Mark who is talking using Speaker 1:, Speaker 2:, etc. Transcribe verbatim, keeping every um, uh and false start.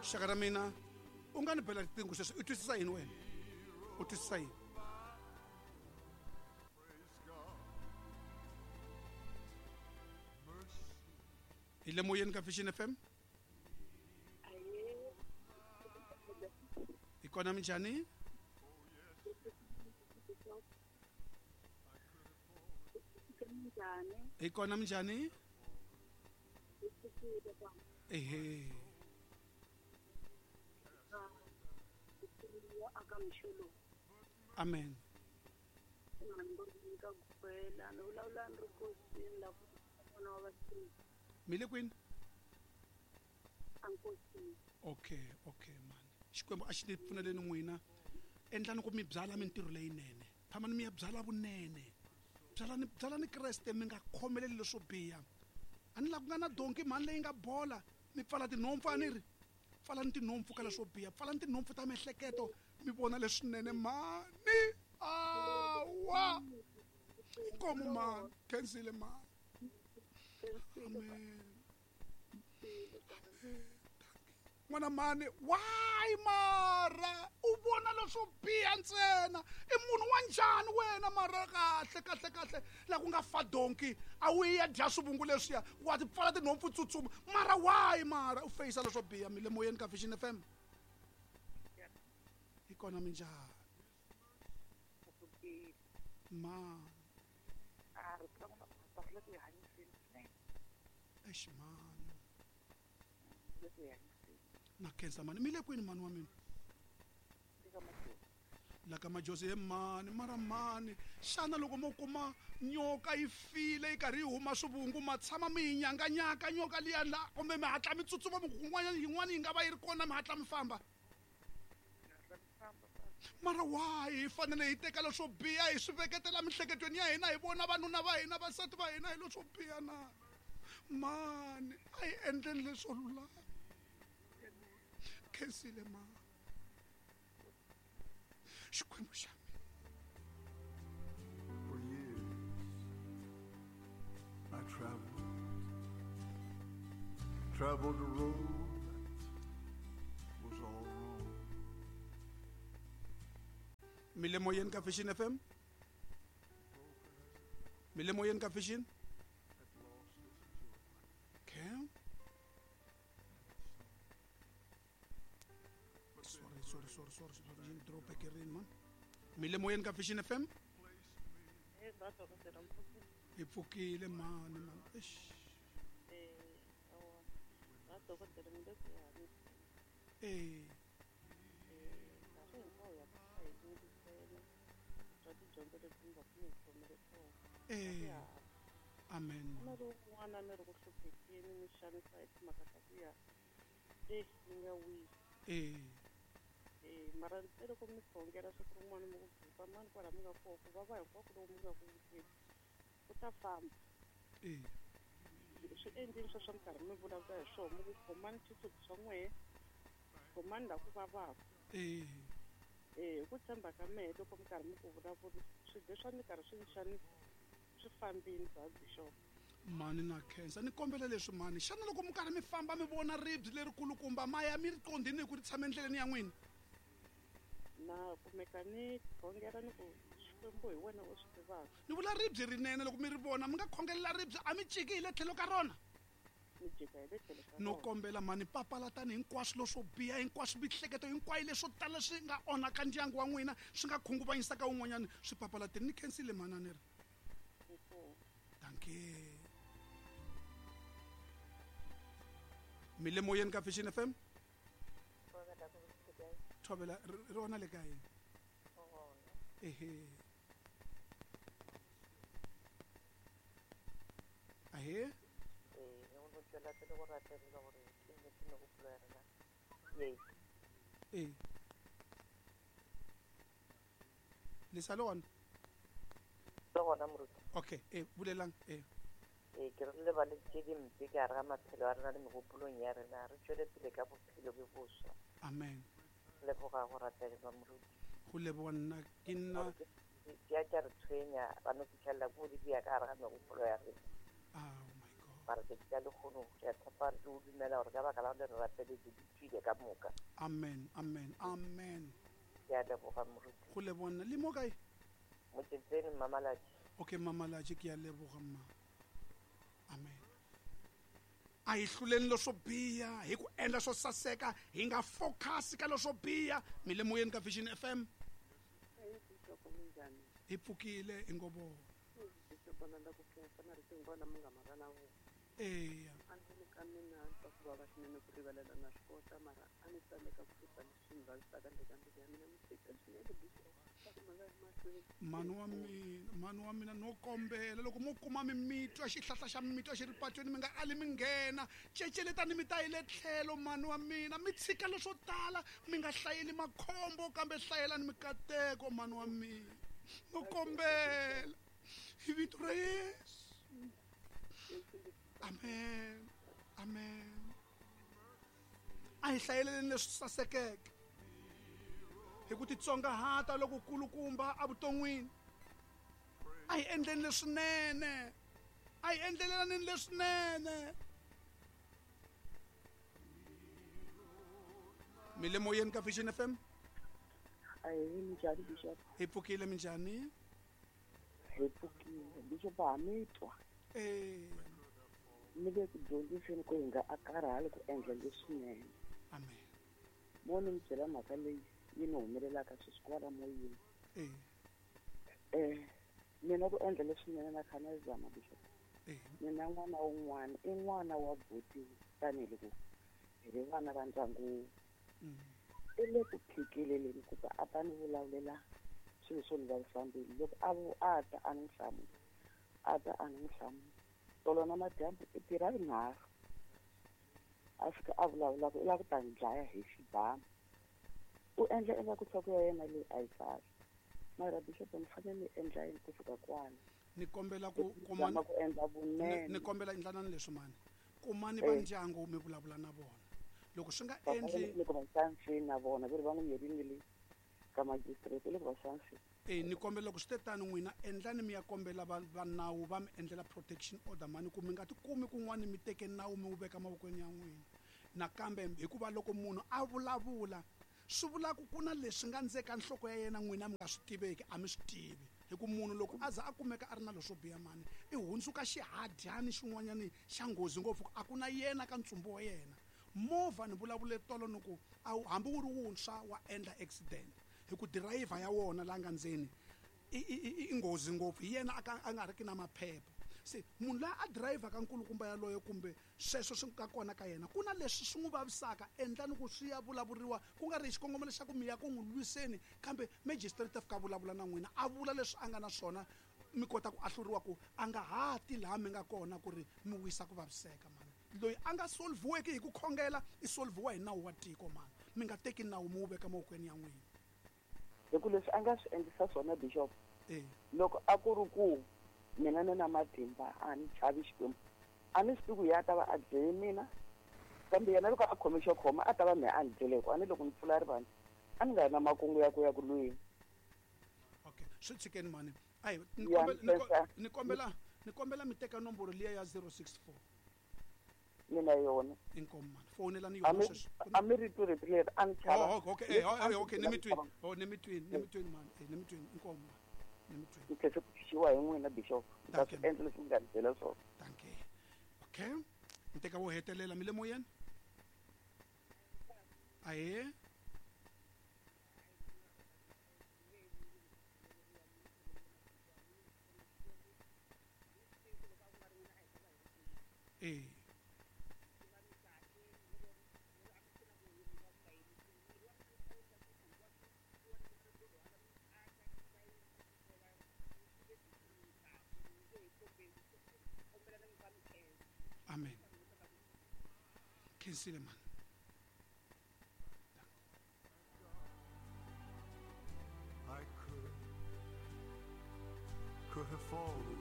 Speaker 1: Xaka ra mina u nga ni bela riqingho sweswi u twisisa yini wena u twisisa yini hi le moyeni ka Vision F M hi kona minjhani hi kona minjhani ehe amen mi le kwini okay okay mani Xikwembu a xi ni pfuneleni n'wina endlani ku mi byala mintirho leyinene phamani mi ya byala vunene byalani byalani Kreste mi nga khomeleli leswo biha a ni la ku nga na donki mhani leyi nga bola mi pfala tinhompfu a ni ri pfalani tinhompfu ka leswo biha pfalani tinhompfu ta miehleketo mi vona leswinene mhani awa inkomo mhani khensile mhani amen n'wana mhani why mara u vona leswo biha ntsena i munhu wa njhani wena mara kahle kahle kahle la ku nga fa donki a wu ya dya swivungu leswiya wa ti pfala tinhompfu tsutsuma mara why mara u feyisa leswo biha mi le moyeni ka Vision F M hi kona minjhani ma eish mani na khensa mani mi le kwini mani wa mina la ka majozi he mani mara mani xana loko mo kuma nyoka yi file yi karhi yi huma swivungu ma tshama mi yi nyanganyaka nyoka liya la kumbe mi hatla mi tsutsuma mi kun'wanyana yin'wana yi nga va yi ri kona mi hatla mi famba mara why hi fanele hi teka leswo biha hi swi veketela miehleketweni ya hina hi vona vanuna va hina vasati va hina hi leswo biha na mani a hi endleni leswo lulama khensile mani Xikwembu xa mina.
Speaker 2: For years I traveled, traveled a road that was all wrong.
Speaker 1: Mi le moyeni ka Vision F M mi le moyeni ka Vision okay sorry sorry sorry sorry sorry drop back in man mi le moyeni ka Vision F M hi pfukile mani mani eish eh eh amen eh
Speaker 3: eh mara loko mi khongela siku rin'wana mi ku buka mani kwala mi nga kona ku vava hinkwako loko mi nga ku vuteni ku ta famba
Speaker 1: eh
Speaker 3: swi endleni swa swa minkarhi mi vulavula hi swona mi ku khomani xisuti swa n'wehe khomani laha ku vavaka
Speaker 1: eh
Speaker 3: eh hi ku tshemba ka mehe loko mi karhi mi ku vulavula swilo swa mi karhi swi ni xanisa swi fambini bya bishop
Speaker 1: mani na khensa ni kombela leswi mani xana loko mi karhi mi famba mi vona ribye lerikulukumba ma ya mi ri qondhini hi ku ri tshama endleleni ya n'wina
Speaker 3: na kumeka ni khongela ni ku Xikwembu hi wena u swi tivaka
Speaker 1: ni vula ribye rinene loko mi ri vona mi nga khongelela ribye a mi ciki hi le tlhelo ka rona
Speaker 3: mi jika hi le tlhelo ka
Speaker 1: no kombela mani papalatani hinkwaswo leswo biha hinkwaswo mihleketo hinkwayo leswo tala swi nga onhaka ndyangu wa n'wina swi nga khunguvanyisaka wun'wanyana swi papalateni ni khensile mhani a ni ri dankie mi le moyeni ka Vision F M thovela ri rona le ka yini ehe ahe eh le sa le gona okay eh bulelang eh
Speaker 4: eh ke re lebale tše dimpe ka gare ga maphelo a rena le megopolong ya rena re tšwele pele ka bophelo bjo boswa
Speaker 1: amen
Speaker 4: leboga go rapelelwa moruti
Speaker 1: go leboga nna ke nna
Speaker 4: di a tša re tshwenya ba no fitlhelela ko di bea ka gare ga megopolo ya rena
Speaker 1: oh my god
Speaker 4: Mara tšatši la lekgono re a tshepa re o dumela gore ka baka la gore re rapeletse di tswile ka moka.
Speaker 1: Amen, amen, amen.
Speaker 4: Ke a leboga moruti.
Speaker 1: Go lebona le mo kae?
Speaker 4: Motsetseng Mamalatši.
Speaker 1: Okay, Mamalatši, ke a leboga mma. Amen. A hi hluleni leswo biha hi ku endla swo saseka, hi nga focus ka leswo biha. Mi le moyeni ka Vision F M. Hi pfukile hi ngo vona. Eya. Mhani wa mina, mhani wa mina no kombela loko mo kuma mimitwa xihlahla xa mimitwa xi ri patweni mi nga ali mi nghena, ceceletani mi ta yi le tlhelo mhani wa mina, mi tshika leswo tala, mi nga hlayeli makhombo kambe hlayelani mikateko mhani wa mina, no kombela hi vito ra Yesu. Amen, amen. A hi hlayeleni leswi sasekeke hi ku titsongahata loko kulukumba evuton'wini. A hi endleni leswinene, a hi endlelelaneni leswinene. Mi le moyeni ka Vision F M.
Speaker 5: Ahee, minjhani Bishop?
Speaker 1: Hi pfukile, minjhani?
Speaker 5: Hi pfukile Bishop, ha mi twa?
Speaker 1: Eh.
Speaker 5: Mi le ku dyondziseni ku hi nga a karhali ku endla leswinene.
Speaker 1: Amen.
Speaker 5: Mo ni mi byela mhaka leyi yi ni humelelaka sweswi kwala moyeni.
Speaker 1: Eh.
Speaker 5: Eh, mina ku endla leswinene na kha na zama Bishop.
Speaker 1: Eh.
Speaker 5: Mina n'wana wun'wana i n'wana wa buti tanihiloko hi ri vana va ndyangu.
Speaker 1: Mm.
Speaker 5: I le ku phikeleleni ku ta a ta ni vulavulela swilo swo ni vavisa mbilu. Loko a vu a ta a ni hlamula, a ta a ni hlamula. Tolo na madyambu i tirha rinharhu a fika a vulavula ku i lava ku ta ni dlaya hi xibamu. U endla ingaku nhloko ya yena leyi a yi kahle. Mara Bishop ni fanele ni endla yini ku fika kwala?
Speaker 1: Ni kombela ku
Speaker 5: kuma ku endla vunene.
Speaker 1: Ni kombela endlanani leswi mani. Kumani va ndyangu mi vulavula na vona. Loko swi nga endli
Speaker 5: loko va xansini na vona ve ri va n'wi yerini le ka magistrate loko va xansini.
Speaker 1: Eh, ni kombela loko swi te tano n'wina endlani mi ya kombela va va nawu va mi endlela protection order mani, ku mi nga tikumi kun'wana mi teke nawu mi wu veka mavokweni ya n'wina. Nakambe hikuva loko munhu a vulavula swi vula ku ku na leswi nga ndzeni ka nhloko ya yena n'wina mi nga swi tiveki, a mi swi tivi. Hi ku munhu loko a za a kumeka a ri na leswo biha mani, i hundzuka xihadyani xin'wanyani xa nghozi ngopfu, a ku na yena ka ntsumbu wa yena. Movha ni vulavule tolo ni ku hambi wu ri wuntshwa wa endla accident hi ku dirayivha ya wona la nga ndzeni i i i nghozi ngopfu, hi yena a nga ri ki na maphepha. Se munhu loyi a dirayivhaka nkulukumba yaloye kumbe sweswo swi nga kona ka yena, ku na leswi swi n'wi vavisaka, endlani ku swi ya vulavuriwa ku nga ri hi xikongomelo xa ku mi ya ku n'wi lwiseni, kambe magistrate a fika a vulavula na n'wina a vula leswi a nga na swona, mi kota ku ahluriwa ku a nga ha ti laha mi nga kona ku ri mi wisa ku vaviseka mani. Loyi a nga solviweki hi ku khongela i solviwa hi nawu wa tiko mani, mi nga teki nawu mi wu veka mavokweni ya n'wina.
Speaker 5: Hi ku leswi a nga swi endlisa swona Bishop,
Speaker 1: eh,
Speaker 5: loko a ku ri ku mina ni na matimba a ni chavi Xikwembu, a ni swi tivi ku ya ta va a dlele mina, kambe yena loko a khome xo khoma a ta va mehe a ni dlele, hikuva a ni loko ni pfula rivanti a ni nga ri na makungu ya ku ya ku lweni.
Speaker 1: Okay, swi tshikeni mani. Ayi, ni kombela ni kombela ni kombela mi teka nomboro liya ya zero six four.
Speaker 5: Mina yona.
Speaker 1: Inkomu mani, fonelani yona sweswi.
Speaker 5: A mi ri tu rito leri a ni chava.
Speaker 1: Oh, okay, eh, okay, ni mi twini. Oh, ni mi twini, ni mi twini mani, eh, ni mi twini, inkomu mani. Ni mi twini.
Speaker 5: Ni tlhela ku xiwa hi n'wina Bishop. Ta swi endla leswi mi nga ni byela swona.
Speaker 1: Dankie. Okay. Ni teka wo hetelela mi le moyeni? Ahee. Eh. Amen. Khensile man.
Speaker 2: I could could have fallen.